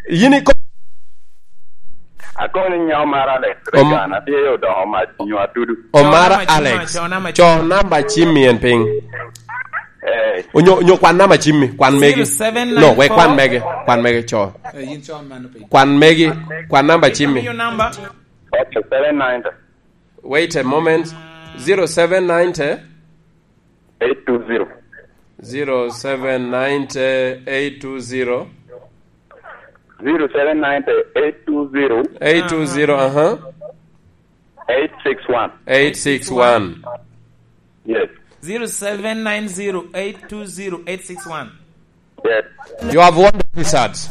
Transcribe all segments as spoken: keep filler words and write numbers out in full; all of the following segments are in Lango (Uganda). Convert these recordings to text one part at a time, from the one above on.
Yin iko- Akoni nya Omar Alex, Om- Regan, atye yo dongo mac nyo atudu. Omar Alex. Cho namba cimmi en piny. Eh. Onyo, onyo kwan namba cimmi, kwan megi. No, wek kwan megi, kwan megi, cho. Eh, yin cho man piny. Kwan megi, kwan namba cimmi. Your number. Okay, seven ninety. Wait a moment. Zero seven ninety. Eight two zero. Zero seven ninety eight two zero. Zero seven ninety eight two zero. Eight two zero, uh-huh. Eight six one. Eight six one. Yes. Zero seven nine zero eight two zero eight six one. Yes. You have won the T-shirts.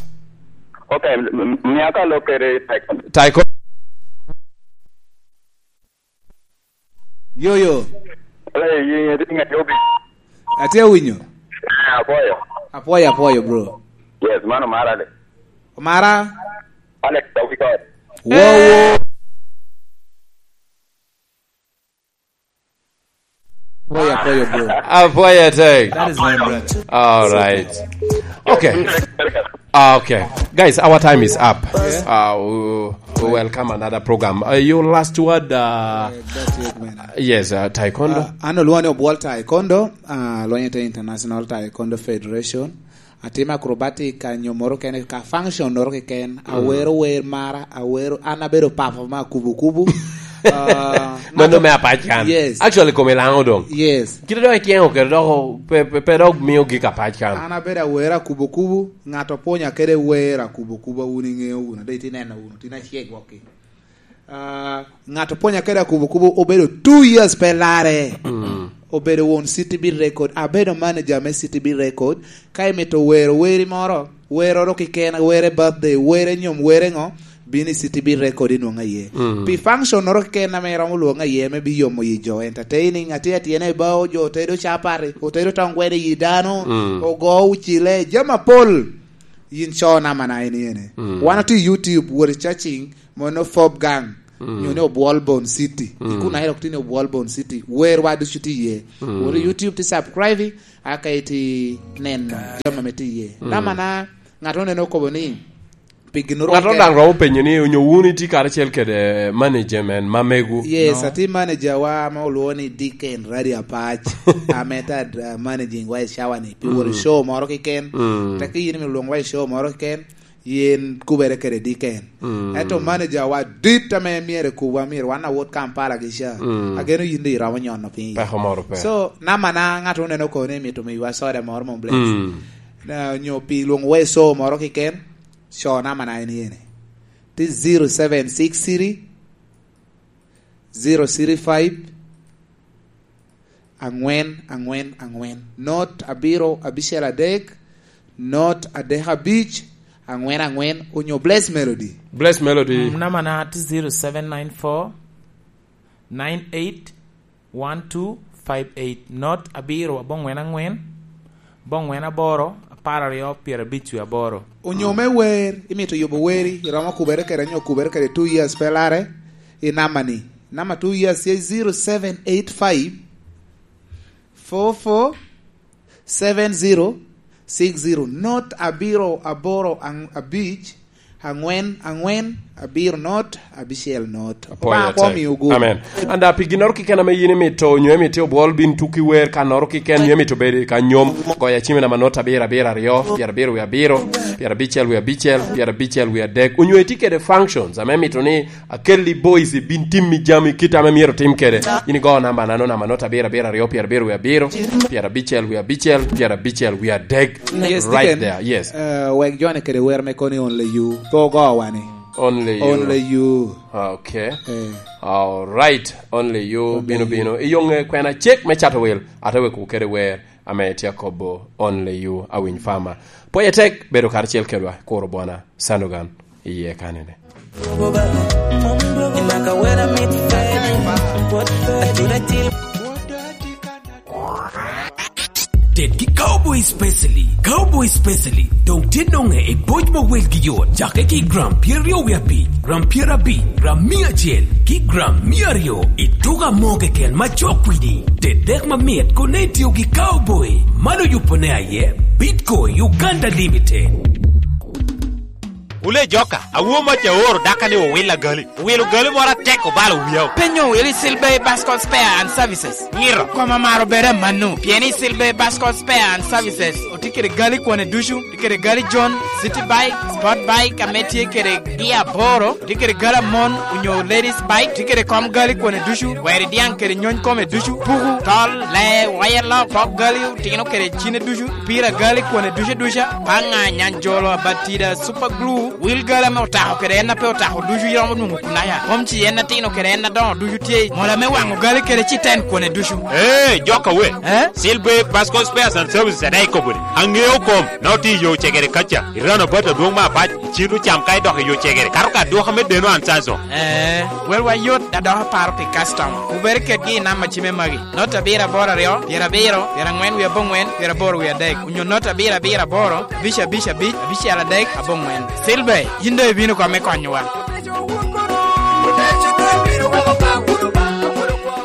Okay, m-, m-, miaka lokere taekwondo. Taekwondo. Yo, yo. Hey, yin itye ngat yobi? Atye awinyo. Eh, apwoyo. Apwoyo, apwoyo, bro. Yes, mano Omar Alex. Omar Alex, Alex Awikot. Wo, wo. Apwoyo, apwoyo, bro. Apwoyo tek. That is my brother. All right. Okay. Ah, okay. Guys, our time is up. Yeah. Uh, we, we welcome another program. Uh, your last word, uh, Uh, that's it, man. Yes, uh, taekwondo. Uh, an olwoŋo ni Obwol Taekwondo, uh, alwonyo te International Taekwondo Federation. Atimo acrobatic, anyo moro kene ka function noro keken. Mm. Awero wer mara, awero, an abedo papa ma kubu kubu. Uh, Mano me apac kan. Yes. Actually, kome laŋo doŋ. Yes. Kite dok ityeno kede dok pe, pe, pe dok mio gik apac kan. An abedo awera kubo kubo, ŋat opwonya kede wera kubo kubo, wun iŋeo wunu, dok itye neno wunu, tin acek wokki. Ah, ŋat opwonya kede akubo kubo obedo two years pe larre. Mm. Obedo won City Beat Record, abedo manager me City Beat Record. Ka imito wero weri moro, weroro kiken, were birthday, were nyom, were ŋo, bino i City Beat Record inwoŋo aye. Mm. Pi function-noro keken ame iromo lwoŋo aye, me biyomo yi jo, entertaining, atye atyene i bao, jo otedo capati, otedo tong gweno i yi dano, mm, ogo ucile, jami apol. Yin co namana en yene. Mm. Wan otye i YouTube, wot i searching, mono Fob Gang, mm, nyo ni Obwol Bon City. Mm. Ikun aye dok tye ni Obwol Bon City. Werwa ducu tye iye. Mm. Wot i YouTube, ti subscribe, aka iti neno jami ame tye iye. Mm. Namana, ŋat oneno okobo ni, pi ginnoro ŋat keken. Daŋ romo penyo ni, onyo wun itye karacel kede management ma megu? Yes, no. Atye manager wa ma olwoŋo ni Deacon Radio Apac. Ame ta, uh, managing wa i cawa ni. Pi wot i, mm, show moro keken. Mm. Teki yin imito lwoŋo wa i show moro keken, yen kubere kede Deacon. Mm. Ento manager wa dit ame myero ekubwa, myero wan awot Kampala gi ca. Mm. Ageno yin doŋ iromo nyono piny. Peko moro pe. So, namana ŋat oneno kono ni mito miwa soda moro mom bless. Mm. Na, onyo pi lwoŋo wa i show moro keken, co namana en yene. Ti zero seven six three, zero three five, aŋwen, aŋwen, aŋwen. Not abiro, abicel adek, not adek abic, aŋwen, aŋwen, onyo Bless Melody. Bless Melody. Mm, namana ti zero seven nine four, nine eight, one two five eight, not abiro aboŋwen aŋwen, aboŋwen aboro, apar aryo, pyerabic wie aboro. Onyo me wer, imito yubo weri, iromo kubere kede, nyo kubere kede two years pe larre, i namba ni. Namba two years ye zero seven eight five, four four, seven zero six zero, not abiro aboro ang-, abic, aŋwen, aŋwen, abiro not, abicel not. Apwoyo Obaŋa atek. Kwomi ogu. Amen. And, uh, pi ginnoro keken ame yin imito, nyo imito obwol bin tuki wer kannoro keken, nyo imito bedo i kanyom, goyo acim i namba not abiro, abiro, aryo, pyerabiro wie abiro, pyerabicel wie abicel, pyerabicel wie adek. Onyo itye kede functions ame imito ni akelli boys bin timmi jami kit ame myero tim kede. In igo namba nano, namba not abiro, abiro, aryo, pyerabiro wie abiro, pyerabicel wie abicel, pyerabicel wie adek. Yes, right Deacon. There, yes. Uh, wek jone kede wer me koni Only You. Pe ogo wani. Only You. Only You. Okay. Eh. All right. Only You. Only bino, You. Bino. Iyoŋe kwena cek me cato wil. Ate wek kede wer ame tye akobo Only You, Awiny Farmer. Pwoye tek bedo karacel kedwa, kuro bwana, Sanogan, iye kanene. Tet ki Cowboy Specially. Cowboy Specially doŋ tye noŋe i boc ma welgi yot, cakke ki gram pyeraryo wie abic, gram pyerabic, gram mia acel, ki gram mia aryo i tuko amo keken ma cok kwidi. Tet dek mamit kono itio ki Cowboy. Man oyubo ne aye Bitco Uganda Limited. Wule joka, awo mac aoro daka ni owil agali. Owilo gali moro atek obalo wiya. Penyo wili Silver Bascom Spare and Services. Ngiro. Koma maro bere manu. Pieni Silver Bascom Spare and Services. Otye kede gali kwone ducu. Tye kede gali John, City Bike, Sport Bike, ame tye kede gia aboro. Tye kede gali amon, onyo ladies bike. Tye kede kom gali kwone ducu. Weri diaŋ kede nyony kome ducu. Puku, tol, le, waya lok, pok gali, otino kede cine ducu. Pira gali kwone ducu duca. Paŋa, nyanjolo, abatida, super glue. Wil gali ame otako kede en a pe otako ducu iromo nwoŋo kunaya. Kom ci en atino kede en adoŋo ducu tye. Mola me waŋo gali kede ci ten kwone ducu. Ee, jok awe. Eh? Silver Bascom Spares and Services ade ikobo ni. Aŋeo kom, na oti i yo cegere kaca. Irano bat adwoŋ me apac, icito cam ka idok i yo cegere. Kato ka dwoka me deno an sanso. Eh, welwa yot, da dok aparo pi customer. Wubere kedgi i namba cime magi. Not abiro aboro aryo, pyerabiro, pyeraŋwen wie aboŋwen, pyeraboro wie adek. Onyo not abiro abiro aboro, abic abic abic, abicel adek, aboŋwen. Silver, yin doŋ ibino kome konyowa.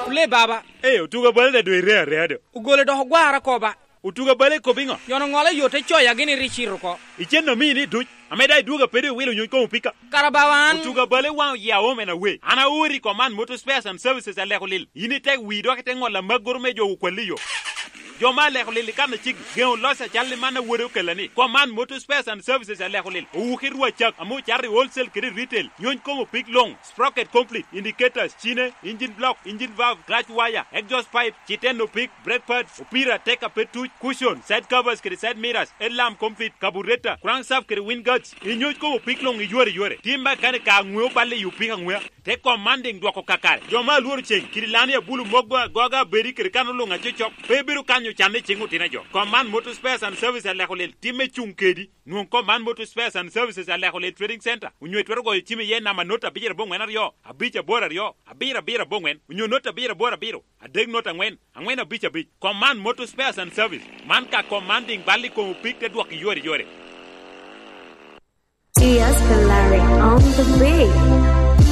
Ole baba. Ee, otuga bale da doŋ ire areya do. Ogole dok ogwara koba. Otuga bale kop iŋo? Nyono ŋolo yo te coya gini ri cito oko. Icen omini duc, ame da idwogo apede iwilo nyony komo pika. Kara bawa an. Otuga bale waŋ oya omen awe. An aori kom an motor spares and services aleko lil. Yin itek wi dok ite ŋolo amaggoro me jo okwalli yo. Jo ma aleko lil i kan aceggi, geŋo loc acal i man awode okella ni, Command Motor Spares and Services aleko lil, owuki rwa cak, ame ocato i wholesale kede retail, nyony komo pig luŋ, sprocket complete, indicators, cine, engine block, engine valve, clutch wire, exhaust pipe, citeno pig, brake pads, opira, teka pe tuc, cushion, side covers kede side mirrors, headlamp complete, carburetor, crankshaft kede wind guards, inyony komo pig luŋ iyore yore. Tim makanika aŋweo balle i opika aŋwea. Te kom man diŋ dwoko kakare. Jo ma alworo cen, kidi lani abulu mok go agoga abedi kede kan oluŋ acocok, pe bedo kanyo canne i ciŋ otino jo. Kom man Motor Spares and Services aleko lil timme cuŋ kedi. Nwoŋ kom man Motor Spares and Services aleko lil Trading Center, onyo itwero goyo cim iye namba not abicel aboŋwen aryo, abic aboro aryo, abiro abiro aboŋwen, onyo not abicel aboro abiro, adek not aŋwen, aŋwen abic abic. Kom man Motor Spares and Service. Man ka kom man diŋ bal i kom opik te dwok iyore yore. Diaz Pelari on the beat.